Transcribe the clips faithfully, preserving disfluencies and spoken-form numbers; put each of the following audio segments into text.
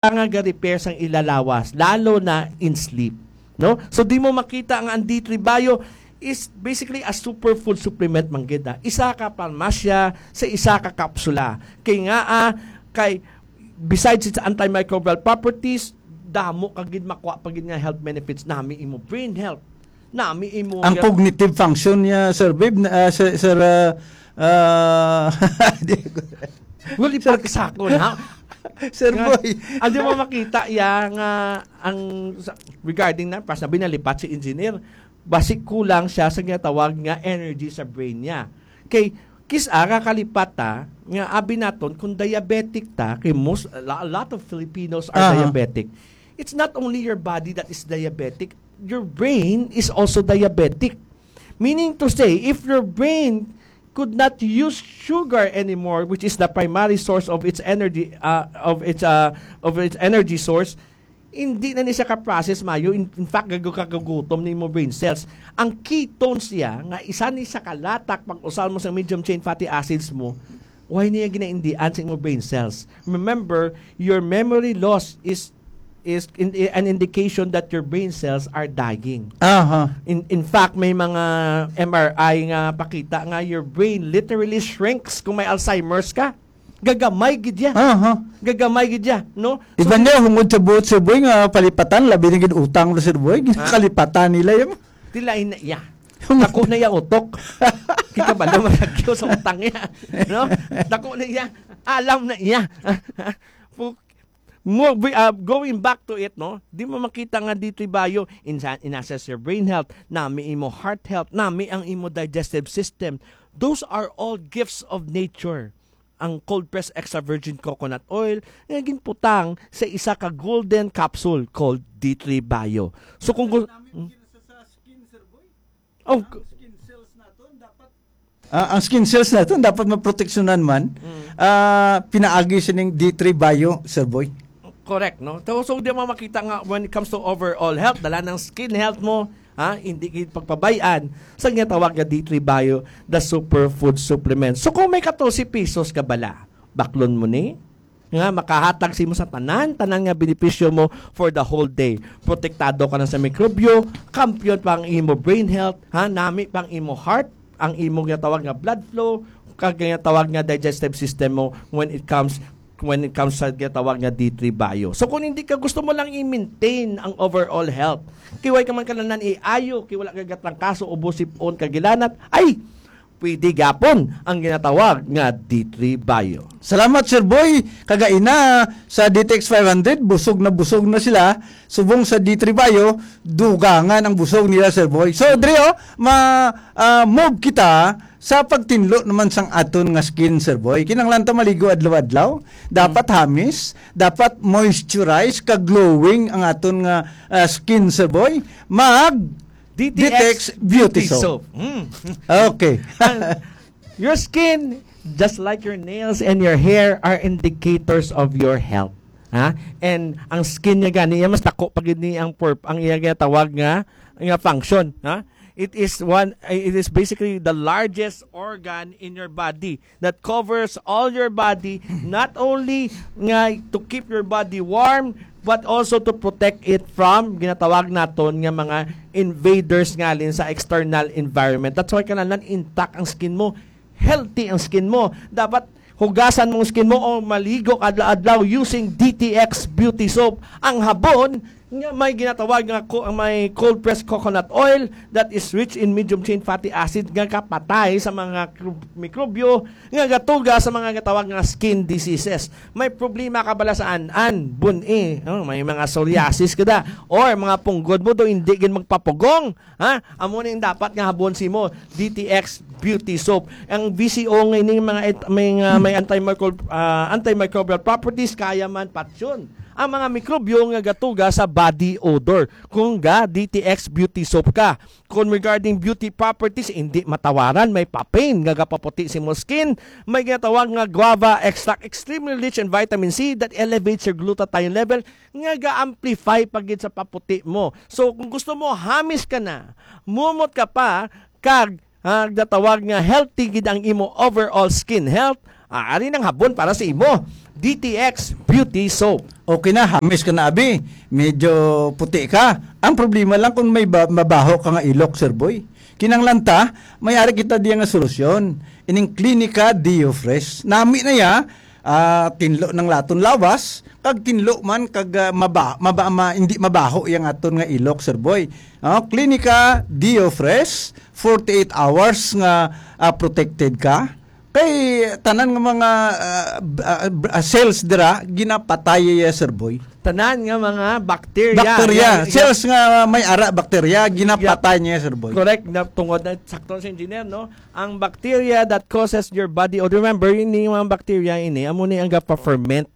nga ga-repair sang ila lawas, lalo na in sleep, no? So, di mo makita nga ang D three Bio is basically a superfood supplement man gid, ah. Isa ka parmasya sa isa ka kapsula. Kay nga, ah, kay besides its antimicrobial properties, damo ka gid makuha pa gid nga health benefits. Nami imo brain health, nami imo Ang ga- cognitive function niya, Sir Babe, na, ah, Sir, Sir, ah, ah, di ko- Well, Sir ipaksa ko na. Sir Nga, Boy. Ano mo makita ya nga ang sa, regarding na, pas na binalipat si engineer, basi kulang siya sa ginatawag nga energy sa brain niya. Kay, kis-a nga kalipat ta, nga abi naton, kung diabetic ta, kay most, a lo-, a lot of Filipinos are Aha. diabetic. It's not only your body that is diabetic, your brain is also diabetic. Meaning to say, if your brain could not use sugar anymore, which is the primary source of its energy, uh, of its, uh, of its energy source, hindi na ni siya ka-process mayo. In, in fact, gago-, kagagutom ni mo brain cells. Ang ketones siya, nga isa ni sa kalatak pag-usal mo sa medium chain fatty acids mo, why niya ginaindian sa imo brain cells? Remember, your memory loss is, is in, an indication that your brain cells are dying. Aha. In, in fact, may mga M R I nga pakita nga your brain literally shrinks kung may Alzheimer's ka. Gagamay gid ya. Aha. Gagamay gid ya, no? So, Iban niya, hungod sa buot, Sir Boy, nga palipatan, labi na gid utang, Sir Boy. Ha? Kalipatan nila yan. Tila ina iya. Dako na iya utok. Kita ba naman lagyo sa utang niya? No? Dako na iya. Alam na iya. Pu-, mo, uh, going back to it, no? Di mo makita nga D three Bio, insa-, in-assess your brain health, nami imo heart health, nami ang imo digestive system. Those are all gifts of nature. Ang cold press extra virgin coconut oil nga ginputang sa isa ka golden capsule called D three Bio. So kung gu- Namin Hmm? Sa, sa skin, Sir Boy. Oh, Ang skin cells naton dapat Ah, ang skin cells naton dapat maproteksyonan man. Mm. Ah, pinaagi sining D three Bio, Sir Boy. Correct, no? So, so di mo makita nga when it comes to overall health, dala ng skin health mo, ha, hindi gid pagpabayaan sa ginatawag nga D three Bio, the superfood supplement. So kung may katorse pesos ka bala, baklon mo ni nga makahatag sa imo sa tanan, tanan nga benepisyo mo for the whole day. Protektado ka na sa mikrobyo, kampiyon pa ang imo brain health, ha, nami pa ang imo heart, ang imo ginatawag nga blood flow, kag ginatawag nga digestive system mo when it comes when it comes sa ginatawag nga D three Bio. So kung hindi ka gusto mo lang i-maintain ang overall health, kiway ka man kananan iayo, kay wala ka gatrangkaso, ubo, sipon, kagilanat, ay, pwede gapon ang ginatawag nga D three Bio. Salamat, Sir Boy. Kagaina sa D T X five hundred, busog na busog na sila. Subong sa D three Bio, dugangan ang busog nila, Sir Boy. So, Dre, oh, ma, ah, move kita sa pagtinlo naman sang aton nga skin, Sir Boy. Kinahanglan ta maligo adlaw-adlaw. Dapat Hmm. hamis, dapat moisturize, ka glowing ang aton nga, ah, skin, Sir Boy. Mag D T X Beauty Soap. Hmm. Okay. Ang, your skin, just like your nails and your hair, are indicators of your health. Ha? And ang skin niya gani, iya mas dako pa gid ni ang purp-, ang iya ginatawag nga, nga function, ha? It is one, it is basically the largest organ in your body that covers all your body, not only nga to keep your body warm, but also to protect it from ginatawag naton nga mga invaders ngalin sa external environment. That's why kinahanglan intact ang skin mo, healthy ang skin mo. Dapat hugasan mong skin mo o maligo adlaw-adlaw using D T X Beauty Soap. Ang habon nga may ginatawag nga ko-, ang may cold pressed coconut oil that is rich in medium chain fatty acid nga kapatay sa mga kru-, mikrobyo nga gatuga sa mga gatawag nga skin diseases. May problema ka bala sa an-an, bun-i, oh, may mga psoriasis ka da, or mga punggod mo do hindi gid magpapugong, ha? Amo ning dapat nga habon simo, D T X Beauty Soap. Ang V C O nga ini mga et-, may, nga may antimicrob-, ah, antimicrobial properties, kaya man patyon ang mga mikrobyo nga gatuga sa body odor. Kung ga D T X Beauty Soap ka, kung regarding beauty properties, hindi matawaran, may papain nga gapaputi sa imong skin, may ginatawag nga guava extract, extremely rich in vitamin C that elevates your glutathione level, nga ga-amplify pa gid sa paputi mo. So, kung gusto mo, hamis ka na, mumot ka pa, kag, ah, gatawag nga healthy gid ang imo overall skin health, ah, ari nang habon para sa imo. D T X Beauty Soap. Okay na, hamis ka na, abi. Medyo puti ka. Ang problema lang kung may ba- mabaho ka nga ilok, Sir Boy. Kinahanglan ta, may ari kita diya nga solusyon. Ining Klinika Deo Fresh. Nami na ya, ah, tinlo ng laton lawas, kag tinlo man kag, ah, maba, maba, ma, hindi mabaho yang aton nga ilok, Sir Boy. Oh, Klinika Deo Fresh, forty-eight hours nga, ah, protected ka. Kay tanan nga mga, ah, b- ah, b- ah, cells dira ginapatay ya, Sir Boy. Tanan nga mga bacteria. Bacteria, Yang- cells nga may ara bacteria ginapatay niya, Sir Boy. Correct, na tungod na sakto sa engineer, no? Ang bacteria that causes your body odor. Remember, yun yung mga bacteria ini, amo ni ang gapa-ferment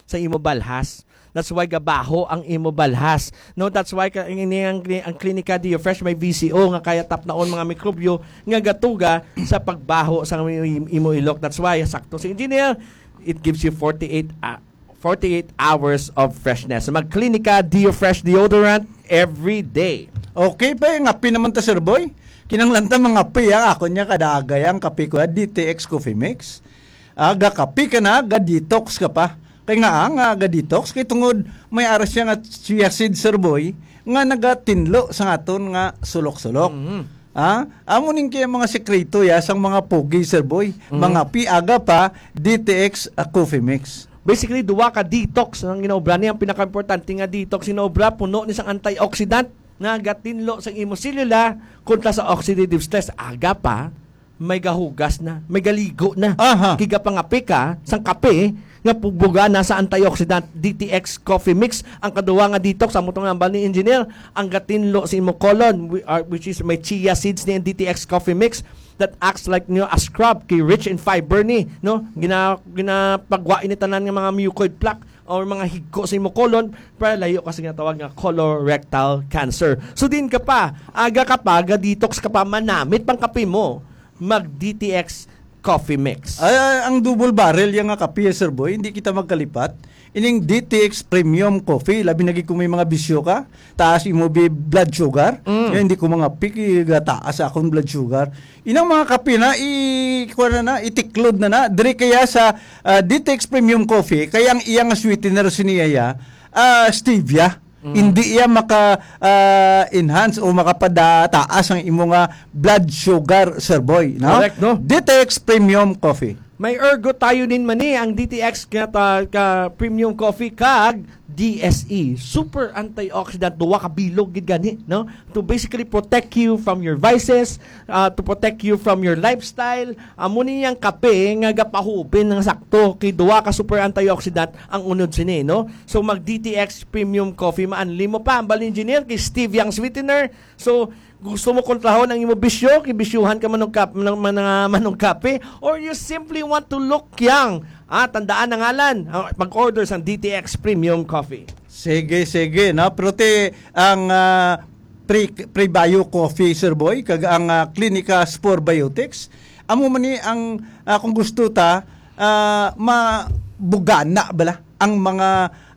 sa imo balhas. That's why gabaho ang imo balhas. No, that's why ka, ini ang, ang Klinika Deo Fresh may V C O nga kaya tapnaon mga mikrobyo nga gatuga sa pagbaho sa imo, imo ilok. That's why sakto si engineer, it gives you forty-eight, ah, forty-eight hours of freshness. Mag Klinika Deo Fresh deodorant every day. Okay pa, ngapi naman ta, Sir Boy. Kinanglan ta mga pi, ah. Ako niya kadagay ang kape ko, ah, D T X Coffee Mix. Ah, gakape ka na, ga-detox ka pa. Kay nga, ah, nga ga-detox, kay tungod may ara siya nga chia seed, Sir Boy, nga nagatinlo sa aton nga sulok-sulok. Mhm. Ah, amo ning kaya mga sekreto ya sang mga pogi, Sir Boy. Mhm. Mga pi, aga pa, D T X, ah, Coffee Mix. Basically, duwa ka detox ang ginaobra niya. Ang pinakaimportante nga detox ginaobra, puno ni sang antioxidant nga gatinlo sang imo selula kontra sa oxidative stress. Aga pa, may gahugas na, may galigo na. Aha. Kiga pangapi ka sang kape nga pubuga na sa antioxidant. D T X Coffee Mix, ang kaduwa nga detox, amo tong nambal ni engineer, ang gatinlo sa imo colon, whi- uh, which is may chia seeds ni D T X Coffee Mix that acts like, you know, a scrub, kay rich in fiber ni, no? Gina, ginapagwa ini tanan nga mga mucoid plaque or mga higko sa imo colon para layo ka sa ginatawag nga colorectal cancer. So din ka pa, aga ka pa, ga-detox ka pa, manamit pang kape mo, mag D T X Coffee Mix. Ay, ay, ang double barrel yang nga kape, Sir Boy, hindi kita magkalipat. Ining D T X Premium Coffee, labi na gid kung may mga bisyo ka, taas imo bi- blood sugar. Mm. Kaya hindi ko mga piki, taas akong blood sugar. Inang mga kape na, i, kuwan na na, itiklod na na. Diri kaya sa, ah, D T X Premium Coffee, kaya ang iyang sweetener siniya, ah, stevia. Mm. Hindi iya maka, ah, enhance o makapadataas ang imo nga blood sugar, Sir Boy, no? Correct, no? D T X Premium Coffee. May ergothioneine man ni ang D T X nga ta, ka premium coffee kag D S E, super antioxidant, duwa ka bilog gid gani, no? To basically protect you from your vices, uh, to protect you from your lifestyle. Amo ni ang kape nga gapahubin ng sakto kay duwa ka super antioxidant ang unod sini, no? So mag D T X Premium Coffee, maanli mo pa ang bal engineer kay stevia ang sweetener. So gusto mo kontrahon ang imo bisyo, kay bisyuhan ka manungkap, man, man, manungkape, or you simply want to look young, ah, tandaan ang ngalan. Ah, mag-order sa D T X Premium Coffee. Sige, sige, no? Pero ti, ang, ah, pre, prebio coffee, Sir Boy, kag ang, ah, Klinika Spore Biotics, amo man ni ang, ah, kung gusto ta, ah, mabugana bala ang mga,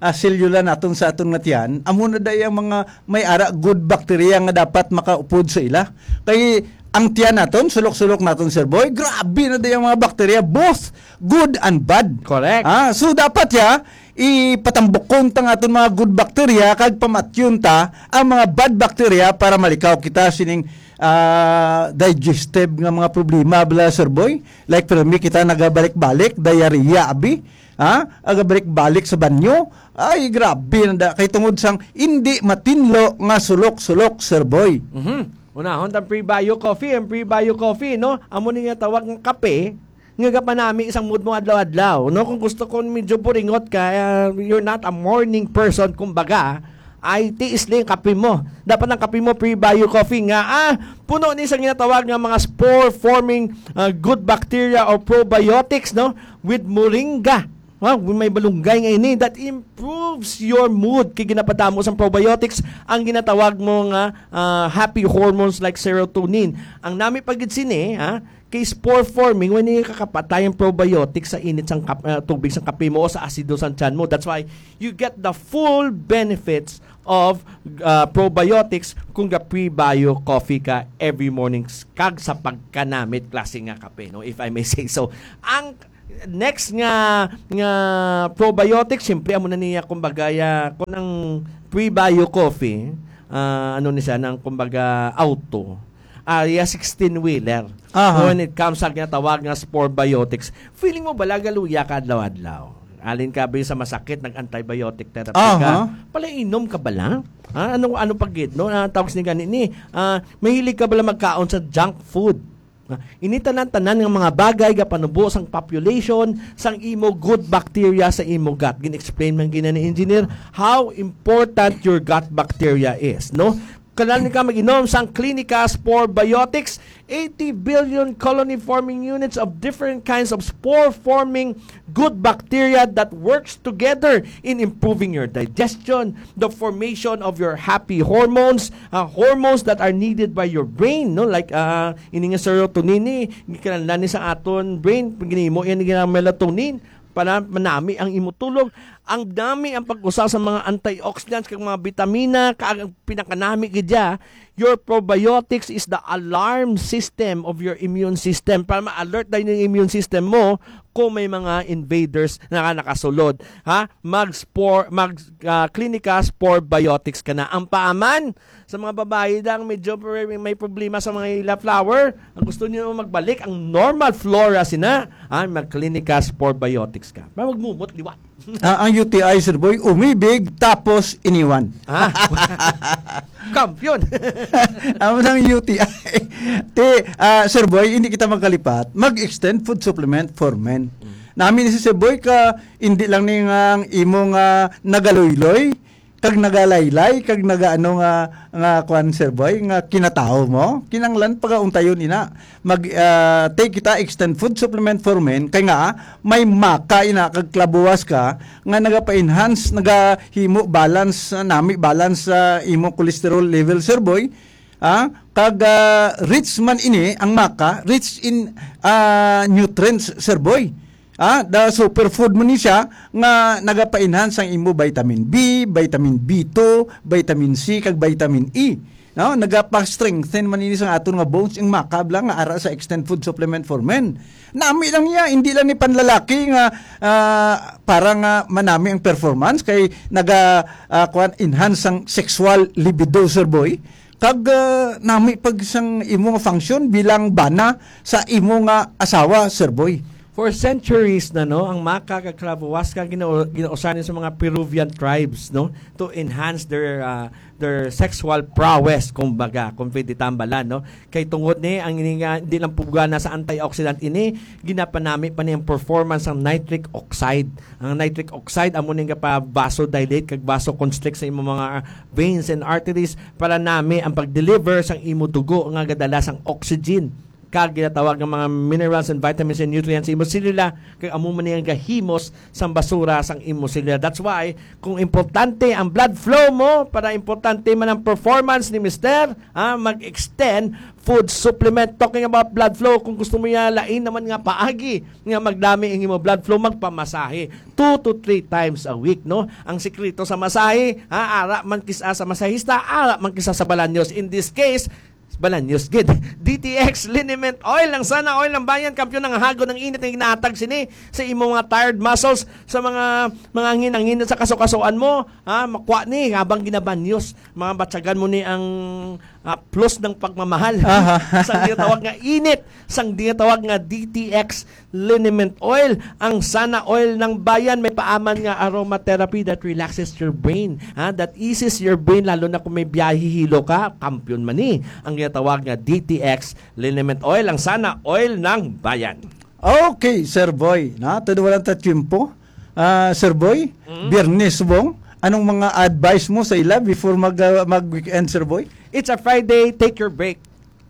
ah, selula naton sa aton nga tiyan, amo na day ang mga may ara good bacteria nga dapat makaupod sa ila. Kay ang tiyan naton, sulok-sulok naton, Sir Boy, grabe na day ang mga bacteria, both good and bad. Correct. Ah, so dapat ya ipatambukon ta nga aton mga good bacteria kag pamatyon ta ang mga bad bacteria para malikaw kita sining, ah, digestive nga mga problema bala, Sir Boy. Like for me, kita nagabalik-balik, diarrhea, abi. Ha? Agabalik-balik sa banyo. Ay, grabe na da. Kay tungod sang hindi matinlo nga sulok-sulok, Sir Boy. Mhm. Unahon tang prebio coffee, ang prebio coffee, no? Amo ni nga tawag nga kape, nga gapanami isang mood mo adlaw-adlaw, no? Kung gusto ko medyo buringot ka, uh, you're not a morning person, kumbaga, ay tiis lang yung kape mo. Dapat ang kape mo, prebio coffee nga, ah, puno ni sa ginatawag nga mga spore-forming, ah, good bacteria or probiotics, no? With moringa. Wow, may malunggay nga ini that improves your mood kay ginapadamo sang probiotics ang ginatawag mo nga, ah, happy hormones like serotonin. Ang nami pa gid sini, ha, kay spore forming when yung kakapatay ang probiotics sa init sang kap- ah, tubig sang kape mo o sa asido sang tiyan mo. That's why you get the full benefits of, ah, probiotics kung ga prebio coffee ka every morning s- kag sa pagkanamit klase nga kape, no, if I may say so. Ang Next nga, nga probiotic, siyempre, amo na niya, kumbaga, ya, kung ang prebio coffee, ah, ano ni siya, nang, kumbaga, auto, ah, ya sixteen-wheeler. Aha. When it comes sa ginatawag nga spore biotics, feeling mo bala galuya ka adlaw-adlaw? Alin ka ba sa masakit, nag-antibiotic therapy ka? Aha. Palainom ka bala? Ha? Ano, ano pa gid, no? Ang tawag ni gani ni, ah, mahilig ka bala magkaon sa junk food? Ah, ini tanan-tanan nga mga bagay nga panubo sang population sang imo good bacteria sa imo gut. Gin-explain man gina ni engineer how important your gut bacteria is, no? Kailangan ka mag-inom sang Clinica Spore Biotics, eighty billion colony-forming units of different kinds of spore-forming good bacteria that works together in improving your digestion, the formation of your happy hormones, uh, hormones that are needed by your brain, no? Like, uh, ini nga serotonin ni, kinahanglan ni sa aton brain, ginimo yan ni melatonin para manami ang imo tulog. Ang dami ang pag-usa sa mga antioxidants kag mga bitamina, kag ang pinakanami gid dya, your probiotics is the alarm system of your immune system para ma-alert dayon yung immune system mo kung may mga invaders na nakasulod, ha? Mag spore, mag ah, Clinica Spore Biotics ka na. Ang paaman sa mga babayi lang medyo may, may problema sa mga ila flower, ang gusto niyo magbalik ang normal flora sina, ah, mag Clinica Spore Biotics ka. Para magmumot liwat. Ah, ang U T I, Sir Boy, umibig tapos iniwan. Ah. Kampiyon. Amo nang U T I. Ti, ah, Sir Boy, hindi kita magkalipat. Mag-extend food supplement for men. Nami ni si Sir Boy ka, hindi lang ni nga ang imo nga nagaluloy, kag nagalaylay, kag nagaano nga, nga kuan, Sir Boy, nga kinatawo mo, kinanglan pagauntayon ina. Mag, ah, take kita extend food supplement for men, kay nga, ah, may maka ina kag klabuwas ka, nga nagapa-enhance, nagahimo balance, ah, nami balance sa imo cholesterol level, Sir Boy. Ah, kag, ah, rich man ini ang maka, rich in, ah, nutrients, Sir Boy. Ah, the superfood mo ni siya nga nagapa-enhance ang imo vitamin B, vitamin B two, vitamin C, kag vitamin E. No, nagapa-strengthen man ini sa aton nga bones, ang maka bala nga ara sa extend food supplement for men. Nami lang niya, hindi lang ni panlalaki nga, ah, para nga manami ang performance kay naga, ah, kuwan, enhance ang sexual libido, Sir Boy. Kag, ah, nami pag sang imo nga function bilang bana sa imo nga asawa, Sir Boy. For centuries na, no, ang maka kag clavo huasca gina-, ginausan sa mga Peruvian tribes, no, to enhance their, ah, their sexual prowess, kumbaga, kung pwede tambalan, no. Kay tungod ni ang ini nga di lang pugana sa antioxidant ini, ginapanami pa ni ang performance sang nitric oxide. Ang nitric oxide amo ni nga pa vasodilate kag vasoconstrict sa imo mga veins and arteries para nami ang pag-deliver sang imo dugo nga gadala sang oxygen kag ginatawag nga mga minerals and vitamins and nutrients sa imo selula, kag amo man ni ang gahimos sang basura sang imo selula. That's why, kung importante ang blood flow mo, para importante man ang performance ni Mister, ha, mag-extend food supplement. Talking about blood flow, kung gusto mo niya lain naman nga paagi nga magdami ang imo blood flow, magpamasahe two to three times a week, no? Ang sikreto sa masahe, ha, ara man kis-a sa masahista, ara man kis-a sa balanyos. In this case, balanyos gid. D T X liniment oil, ang sana oil ng bayan, kampiyon, ang hago ng init na ginahatag sini sa imo mga tired muscles, sa mga, mga ngin-ngin sa kasukasuan mo, ha, makwa ni habang ginabanyos, mga batyagan mo ni ang, ah, plus ng pagmamahal. Aha. Sang ginatawag nga init, sang ginatawag nga D T X liniment oil, ang sana oil ng bayan, may paaman nga aromatherapy that relaxes your brain, ha, that eases your brain, lalo na kung may biyahe hilo ka, kampiyon man ni ang ginatawag nga D T X liniment oil, ang sana oil ng bayan. Okay, Sir Boy, na, todo wala ta tiyempo. Ah, Sir Boy, Mm. Biyernes subong, anong mga advice mo sa ila before mag, ah, mag-weekend, Sir Boy? It's a Friday, take your break.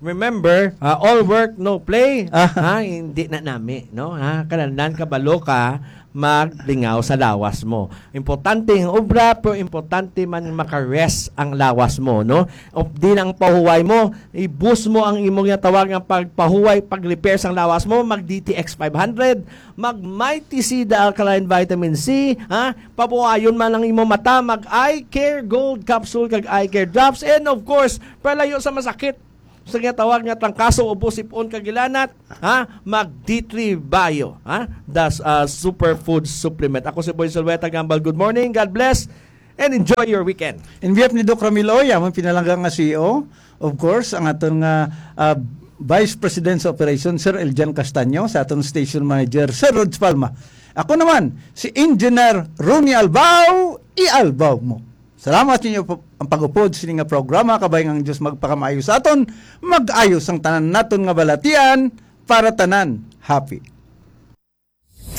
Remember, ah, all work, no play. Ah. Ha, hindi na nami, no? Ha, kanandan kabalo ka maglingaw sa lawas mo. Importante ang obra, pero importante man maka-rest ang lawas mo, no? O, di lang pahuway mo, i-boost mo ang imo nga tawag nga pagpahuway, pag-repair sang lawas mo, mag D T X five hundred, mag Mighty C, the alkaline vitamin C, ha? Pabuhayon man ang imo mata, mag Eye Care Gold Capsule kag Eye Care Drops, and of course, palayo sa masakit, sa ginatawag nga trangkaso, ubo, sipon, kagilanat, ha? Mag D three Bio, ha? Das, ah, superfood supplement. Ako si Boy Zulueta Gambal. Good morning, God bless, and enjoy your weekend. In behalf ni Doc Ramil Oy, among pinalangga nga C E O, of course, ang aton nga, ah, Vice President sa Operation, Sir Eljan Castaño, sa aton station manager, Sir Rods Palma. Ako naman, si Engineer Ronnie Albao, i-Albao mo. Salamat ninyo po ang pag-upod sini nga programa. Kabay nga ang Dios magpakamaayo sa aton, mag-ayo sang tanan naton nga balatian para tanan happy.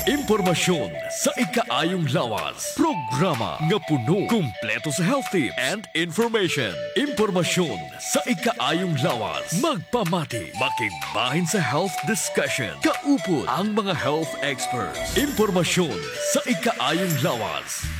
Impormasyon sa ikaayong lawas. Programa nga puno, kumpleto sa health tips and information. Impormasyon sa ikaayong lawas. Magpamati, makigbahin sa health discussion. Kaupod ang mga health experts. Impormasyon sa ikaayong lawas.